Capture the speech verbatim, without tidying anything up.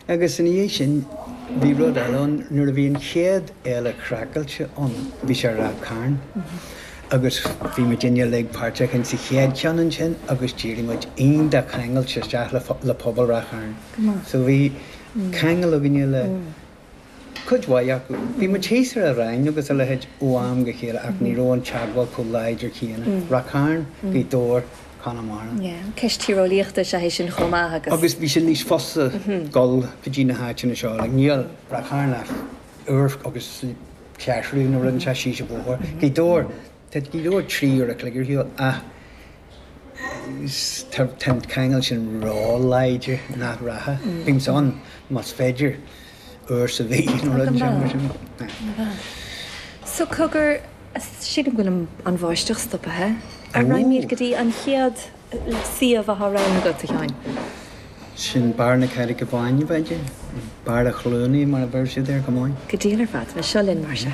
Agus ina dhiaidh sin bhí rud eile ann, nuair a bhí an chéad Fhéile Craiceáilte ann, bhí sé i Ráth Cairn agus bhí muidinne uilig páirteach in sa chéad cheann ansin agus d'éirigh muid iontach ceangailte isteach le le pobal Ráth Chairn. So bhí ceangal againne le cuid mhaith acu. Bhí muid thíos ar an Rinn agus a leithéid ó am go chéile ach ní raibh an teagmháil chomh láidir céanna. Ráth Cairn, Gaoth Dobhair, Conamara. Yeah, ceist tíreolaíochta is ea é sin chomh maith agus. Agus bhí sé níos fusa dul go dtí na háiteanna seo, like níl Ráth Cairn ach uair agus ceathrú nó rud inteacht síos an bóthar. Gaoth Dobhair, tá Gaoth Dobhair trí uair a chloig ar shiúl ach tá tá an ceangal sin ró-láidir nach rachadh. Bímse ann más féidir uair sa mhí nó rud inteacht mar sin. So cogar, sílim go bhfuil an bháisteach stoptha. An raghaimid go dtí an chéad suíomh atá roghnaithe agat, a Sheáin? Sin Barr na Carraige Báine, b'fhéidir? Barra Chluanaí mar a bheir siad air go maith. Go diail ar fad. Seo linn mar sin.